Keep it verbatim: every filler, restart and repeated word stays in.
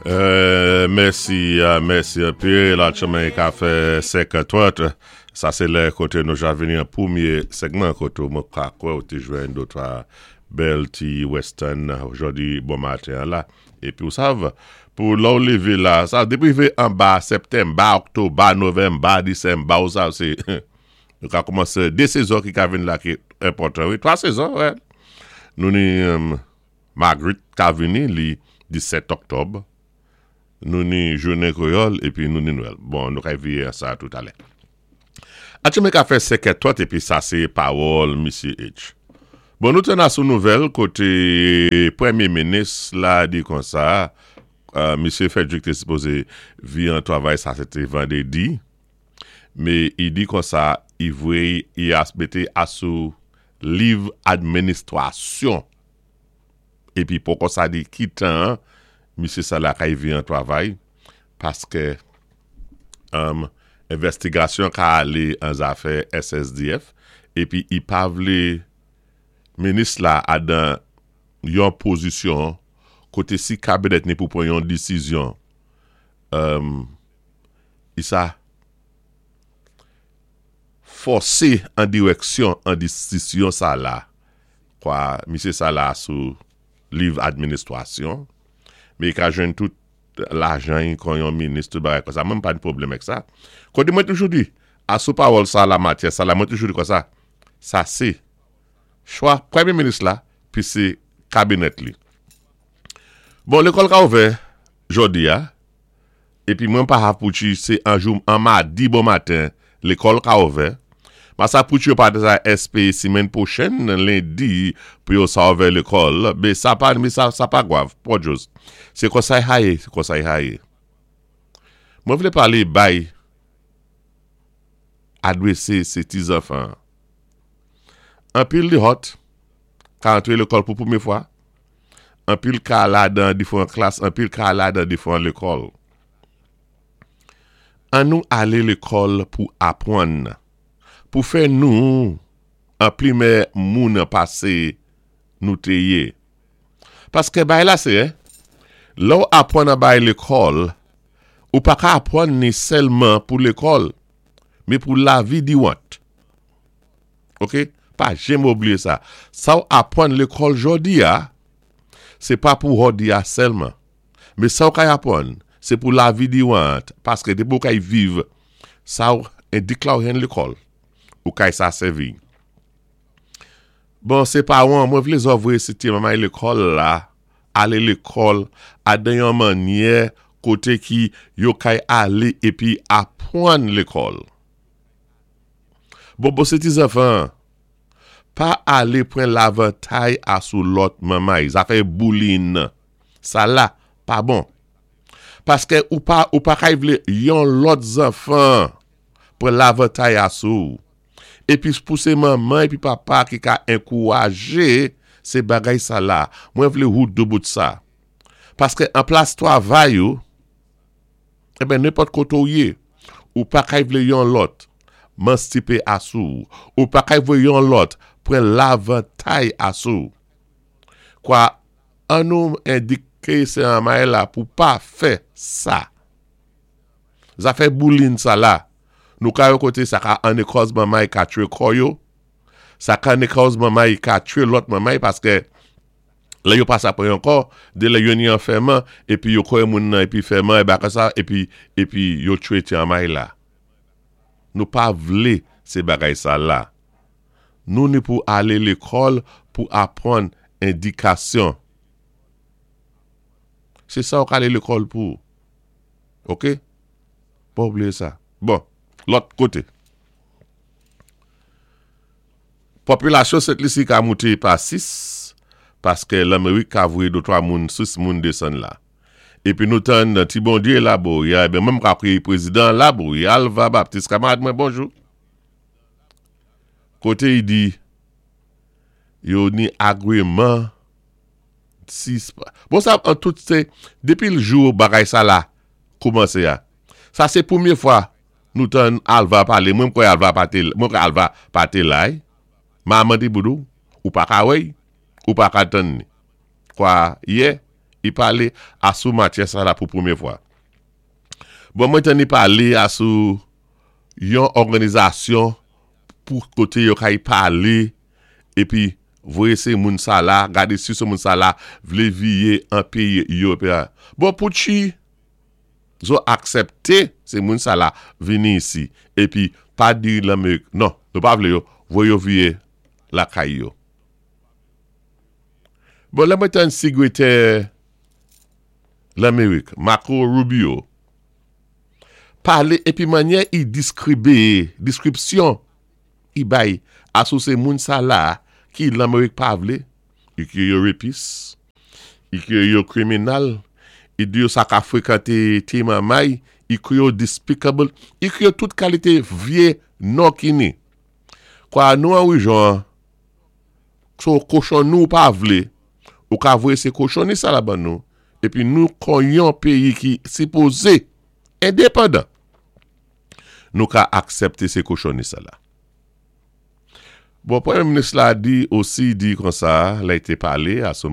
Euh, mèsi, euh, mèsi anpil. La chemen ka fè senk trant. Sa sé lè koté nou ja vini an pwémyé segman koté mwen ka kwè ou té jwenn dotwa bèl ti western jòdi bon maten la. Épi ou sav, pou lè ou lévé la, sa dépi rivé anba septanm, ba oktòb, ba novanm, ba disanm, ba ou sav, sé nou ka koumansé dé sezon ki ka vin la ki enpòtan. Wi, twa sezon, wè. Nou ni um, Magrit ka vini li disèt oktòb. Nou ni jounen kwéyòl épi nou ni Nwèl. Bon, nou ka viwé sa toutalè. Atchoumen ka fè senk trant épi sa sé pawòl Misye H. Bon, nou tann asou nouvèl koté pwémyé minis la di konsa, euh, Misye Frederick té sipozé vi an twavay, sa sé té vandédi, mé i di konsa, i vwé, i as mété asou liv administwasyon. Épi pou konsa di ki tan, misye sa la kay vi an twavay, paské um, envèstigasyon ka alé an zafè S S D F, épi i pa vlé minis la adan yon pozisyon koté si kabinèt ni pou pran yon disizyon, um, i sa fòsé an diwèksyon an disizyon sa la, kwa misye sa la sou liv administwasyon, mé i ka jwenn tout lajan kon yon minis, tout bagay konsa, mwen pa ni pwoblèm ak sa. Koté mwen toujou di, asou pawòl sa la matyè sa la, mwen toujou di konsa, sa sé chwa pwémyé minis la, pi sé kabinèt li. Bon, lékòl ka ouvè jòdi a, épi mwen pa hav pou chi sé an jou, an madi bon maten, lékòl ka ouvè. Ma sa pou chi yo pa sa espéwé simenn pwochèn, lendi, pou yo sa ouvè lékòl, mé sa pa, mé sa, sa pa gwav, pòdjòz. Sé konsa i haye, sé konsa i haye. Mwen vlé palé bay adwésé sé ti zanfan. Anpil di hot, ka antré lékòl pou pwémyé fwa, anpil ka ladan diféwan klas, anpil ka ladan diféwan lékòl. An nou alé lékòl pou apwann, pou fè nou an pli meyè moun pasé nou té yé. Paské bay la sé, eh, lè ou apwann a bay lékòl, ou pa ka apwann ni sèlman pou lékòl, mé pou lavi diwant. Ok? Pa janm oubliyé sa. Sa ou apwann lékòl jòdi a, sé pa pou jòdi a sèlman. Mé sa ou kay apwann, sé pou lavi diwant, paské dépi ou kay viv, sa ou endik la ou hen lékòl, ou kay sa sèvi. Bon, sé pawan, mwen vlé zòt voyé sé ti manmay lékòl la, alé lékòl, adan yon mannyè koté ki yo kay alé épi apwann lékòl. Bon, bon, sé ti zanfan, pa alé pran lavantay asou lòt manmay, zafè bullying, sa la, pa bon. Paské ou pa, ou pa kay vlé yon lòt zanfan pran lavantay asou. Épi pou sé manman épi papa ki ka ankouwajé sé bagay sa la. Mwen vlé ou doubout sa. Paské an plas twavay ou, eben nenpòt koté ou yé, ou pa kay vlé yon lòt manstipé asou, ou pa kay vlé yon lòt pran lavantay asou. Kwa, an nou endiké sé manmay la pou pa fè sa. Zafè bullying sa la, nou ka yo koté sa ka an ekòz manmay ka tchwé kò yo, sa ka an ekòz manmay ka tchwé lòt manmay paské lè yo pa sa pran ankò, dé lè yo ni an fèman, épi yo kwè moun nan épi fèman, é baka sa, épi, épi yo tchwé ti manmay la. Nou pa vlé sé bagay sa la. Nou ni pou alé lékòl pou apwann endikasyon. Sé sa ou ka alé lékòl pou. Ok? Pa oubliyé sa. Bon, lòt koté. Popilasyon Sent Lisi ka mouté pa sis, paské Lamérik ka voyé dotwa moun, sis moun désann la. Épi nou tann ti Bondyé la bo, ya, eben menm ka kriye prézidan la bo, ya Alva Baptiste, kamarad mwen, bonjou. Koté i di, yo ni agreement sis, bon sa, an tout sé, dépi l jou bagay sa la, koumansé ya. Sa sé pwémyé fwa, nou tann Alva palé, mwen kwè Alva pa té, mwen kwè Alva pa té la, ma mandi boudou, ou pa ka wè, ou pa ka tann ni. Kwa, yè, I palé asou matyè sa la pou pwémyé fwa. Bon, mwen tann i palé asou yon òganizasyon pou koté yo kay palé épi voyé sé moun sa la, gadé si sé moun sa la vlé viyé an péyi Éwopéen. Bon, pouchi zo aksepté sé moun sa la vini isi épi pa di Lanmérik, non, nou pa vlé yo, voyé yo viyé lakay yo. Bon, lè mwen tann Sigwétè Lanmérik, Marco Rubio, palé épi mannyè i diskribé, diskripsyon i bay asou sé moun sa la ki Lanmérik pa vlé, i kwi yo rapist, i kwi yo kriminal, i di yo sa ka frékanté ti manmay, i kwi yo despicable, i kwi yo tout kalité vyé non ki ni. Kwa nou an wéjyon, so kochon nou pa vlé, ou ka voyé sé kochonni sa la ban nou, épi nou kon yon péyi ki sipozé endepandan, nou ka aksepté sé kochonni sa la. Bon, Pwémyé Minis la di osi di kon sa, la i té palé asou